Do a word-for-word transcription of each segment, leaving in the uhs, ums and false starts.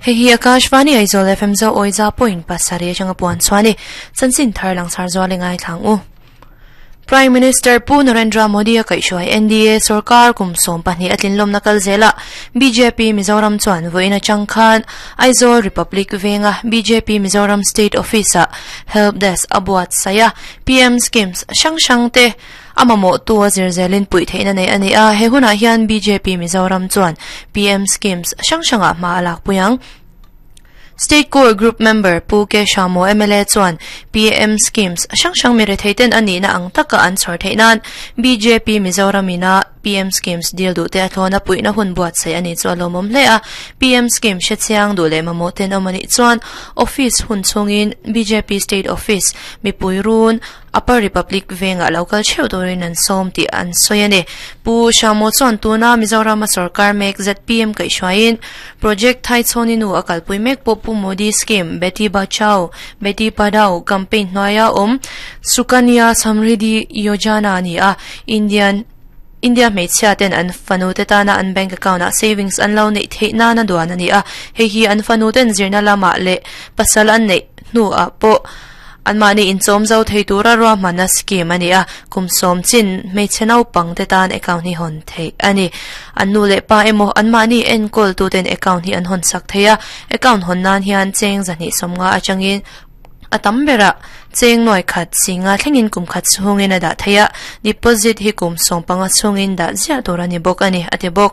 Hei hi Akashvani Aizawl F M zo oiza point pasarih atanga puan chuani chanchin thar langsar zual ngai thlang u. Prime Minister Pu Narendra Modi a kaihhruai N D A sarkar kum sawm pahnih a tlinlawm na kal zela B J P Mizoram chuan vawiin atang khan Aizawl Republic venga B J P Mizoram State Office a help desk a buat saia P M schemes hrang hrang te amamo tu a zirzelin pui theihna nei ani a he hunah hian B J P Mizoram chuan P M schemes hrang hrangah hma a lak pui ang. State Core Group member Pu K Shamo M L A chuan P M schemes hrang hrang mi retheiten ani na ang taka an chhawr theih nan B J P Mizoramina P M schemes deal du te a thlawna puihna hun buat sei ani chu a lawmawm hle a P M scheme hre chiang du leh mamawh ten awm ani chuan office hun chungin B J P State Office mipui run Upper Republic venga local cheu turin an sawm tih an sawi ani. Pu Shamo chuan tuna Mizoram sarkar mek Z P M kaihhruaiin project thai chhawni nu a kalpui mek pawh Pu Modi scheme Beti Bachao Beti Padhao campaign hnuaia awm Sukanya Samriddhi Yojana ani a Indian India hmeichhia ten an fanu te tana an bank account a savings an lo neih theih nana duan ani a hei hi an fanu ten zirna lama leh pasal an neih hnu ah pawh an mahni inchawm zo thei tura ruahmanna scheme ani a kum sawm chin hmeichhe naupang te tan account hi hawn theih ani an nu leh pa emaw an mahni enkawl tu ten account hi an hawn sak thei a account hawn nan hian cheng zahnih sawmnga atangin a tam bera cheng nuai khat singa thlengin kum khat chhungin a dah thei a deposit hi kum sawm panga chhungin dah ziah tur ani bawk ani ati bawk.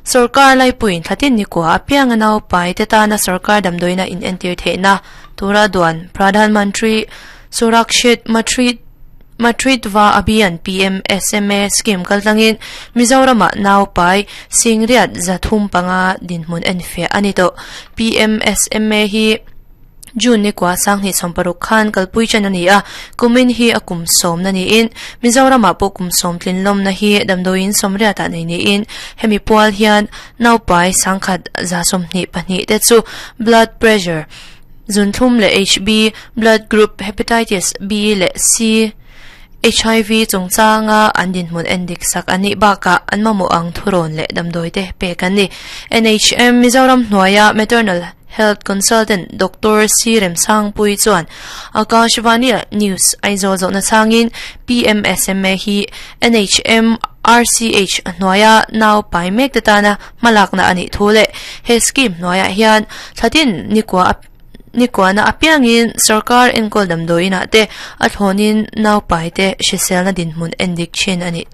Sarkar lai puin thlatin ni kwa apiang nau pai te tana sarkar damdoina in entir theihna tura duan Pradhan Mantri Surakshit Matrit Matritva Abhiyan P M S M A scheme kaltlangin Mizorama nau pai singriat zathum panga dinhmun enfe ani to P M S M A hi June ni kwa sang hi somparuk khan kalpui chan ani a kumin hi akum som na ni in Mizorama po kum som tlin lom na hi damdoin somria ta nei ni in hemi pual hian nau pai sangkhat za som ni pahnih te chu blood pressure zunthum le H B blood group hepatitis B le C H I V chungchanga an dinhmun endik sak ani baka an mamo ang thuron le damdoi te pek ani N H M Mizoram hnuaia maternal Health Consultant Doctor C Remsang Pui chuan Akashvani News Aizawl zawhna changin P M S M A hi N H M R C H hnuaia nau pai mek te tana hmalakna ani thu le he scheme hnuaia hian thlatin nikwa nikwa na apiangin sarkar enkawl damdawiin ah te a thlawnin nau pai te hriselna dinhmun endik thin ani.